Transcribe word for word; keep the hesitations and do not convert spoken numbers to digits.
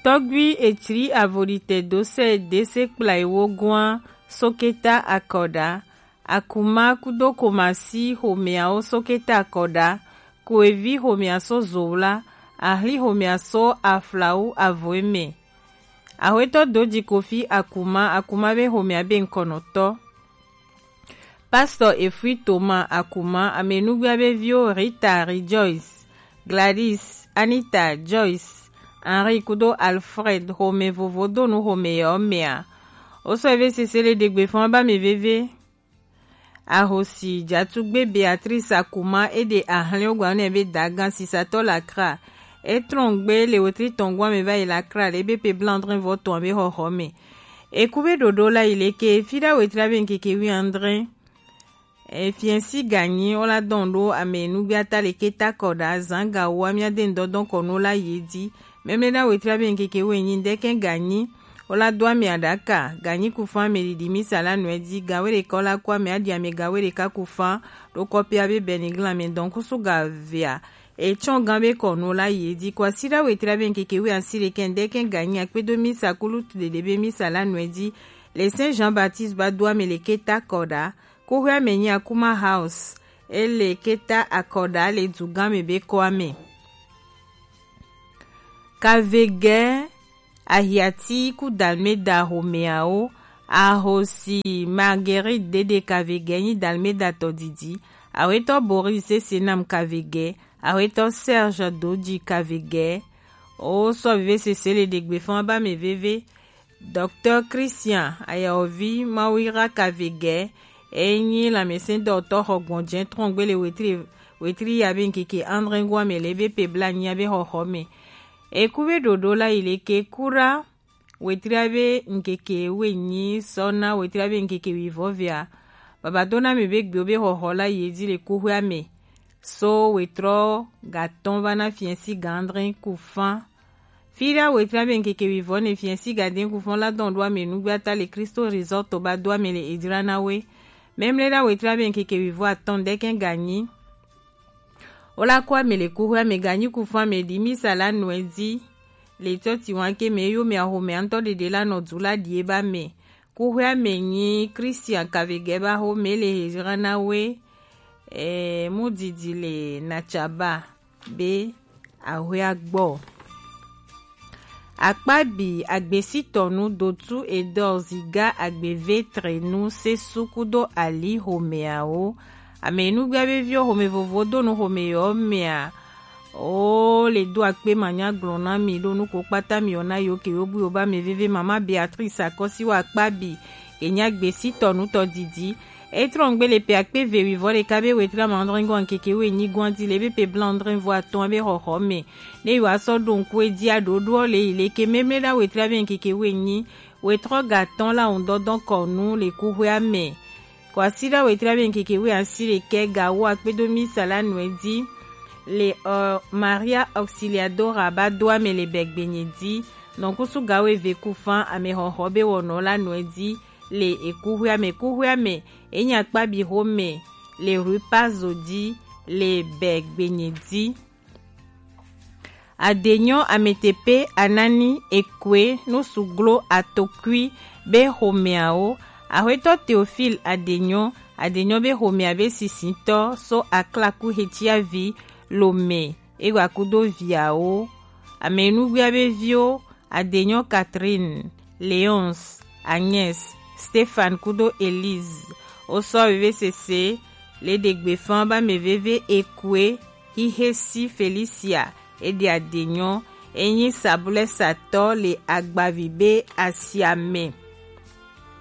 Tɔgbi etsri avodite do se dese kplai wo gua soketa akɔda. Akuma kudo komasi homeawo soketa akɔda. Koevi homea so zowla. Ahli homea so aflawu avoeme. Ahwetɔ doji kofi akuma, akuma be homea be ŋkɔnɔtɔ. Pastor Efui Thomas Akuma, amenugbe abe viwo Rita Rejoice, Gladys, Anita, Joyce, Henri kudo Alfred, home vovo donu home yɔ mea. Oso eve sese le degbe fɔn ba me veve. Ahosi jatugbe Beatrice Akuma ede ahlɛ ogba ne be dagan sisatɔ la kra. Etrɔngbe le wetri tɔngwa me va yi la kra le be pe blandrin vɔ tɔn be hɔhɔ me. Eku be ɖoɖo la yi leke, fi ɖa wetri abe ŋkeke wi andre. Efiɛnsi ganyi wo la dɔn ɖo ame nugbe ata leke takɔ ɖa zan ga wo amia de ŋdɔdɔn kɔ no la yi di. Mɛmlɛ ɖa wetri abe ŋkeke wo enyi ŋdɛkɛ ganyi wo la do ame aɖaka ganyi ku fan ame ɖiɖi misa la nɔɛ di ga we ɖeka wo la ku ame aɖi ame ga we ɖeka ku fan ɖo kɔpi abe bɛniglan ame dɔn kusu ga vea. Etsɔn gan be kɔnu la yi di kɔ asi ɖa wetri abe ŋkeke wi asi ɖekɛ ŋdɛkɛ ganyi akpedo misa kulu tu ɖeɖe be misa la nɔɛ di. Le Saint Jean Baptiste ba do ame le keta kɔ ɖa. Kuhwe ame nyi Akuma House. Ele keta akɔ ɖa le dugan me be kɔ ame. Kavege ahiati ku Dalmeda homeawo. Ahosi Marguerite Dede Kavege nyi Dalmeda tɔ didi. Awetɔ Boris Sesenam Kavege. Awetɔ Serge Doji Kavege. O sɔ vive sese le ɖegbe fɔn ba me veve. Docteur Christian Ayaovi Mawira Kavege. Enyi lamɛsɛn dɔtɔ xɔ gbɔnjɛ trɔngbe le wetri wetri ya be ŋkeke andre ŋgɔ ame le be pe bla nyi ya be xɔxɔ me. Eku be ɖoɖo la yi le ke kura wetri abe ŋkeke wenyi sɔ na wetri abe ŋkeke wi vɔ vea. Baba do na mi be gbewo be xɔxɔ la yi di le kuhwe ame. So wetrɔ gatɔn va na fiɛnsi gandrin ku fan. Fi ɖa wetri abe ŋkeke wi vɔ ne fiɛnsi gadin ku fan la dɔn ɖo ame nugbe ata le Kristo Resort ba do ame le edra na we. Mɛmlɛ ɖa wetri abe ŋkeke wi vɔ atɔn ɖɛkɛ ganyi. Wo la kɔ ame le kuhwe ame ganyi ku fan ame ɖi misa la nɔɛ di. Le tɔ ti wan ke me yo me aho me antɔ ɖeɖe la nɔ du la ɖie ba me. Kuhwe ame nyi Christian Kavege ba ho me le edra na we. E, mu didi le na tsaba be ahwe agbɔ. Akpabi agbesitɔnu dotu edɔ ziga agbevetre nu sesu kudo ali homeawo. Ame nugbia be viwo home vovo do nu home yɔ mea. O le do akpe manya gblɔ na mi ɖo nuko kpata mi yɔ na yo ke yo bu yo ba me veve mama Beatrice akɔsi wa akpabi. Enya gbesitɔnu tɔ didi. Etrɔngbe le pe akpe ve wi vɔ ɖeka be wetri amandrɛngɔ ŋkeke wo enyi gɔn di le be pe blandrɛn vɔ atɔn be xɔxɔ me. Ne yo asɔ ɖo ŋku edi aɖoɖoɔ le yi leke mɛmlɛ ɖa wetri abe ŋkeke wo enyi. Wetrɔ gatɔn la ŋdɔdɔn kɔnu le kuhwea me. Kɔ asi ɖa wetri abe ŋkeke wo asi ɖekɛ ga wo akpedo misa la nɔɛ di. Le ɔ Maria Auxiliadora ba do ame le bɛ gbenye di. Nɔkusu ga wo eve ku fan ame xɔxɔ be wɔnɔ la nɔɛ di. Le ekuhwea me kuhwea me enya kpabi xome le rue Pazo di le bɛ gbenye di. Adenyɔ ametepe anani ekue nusuglo atokui be xomeawo. Axwetɔ Théophile Adenyɔ, Adenyɔ be xomea be sisitɔ so aklaku hetiavi lome ewa kudo viawo. Amenugbia be viwo Adenyɔ Catherine, Léonce, Agnès, Stéphane kudo Élise. Wosɔ veve sese le ɖegbe fan ba me veve ekue hihe si Felicia eɖe Adenyɔ enyi sabulɛ satɔ le agbavi be asiame.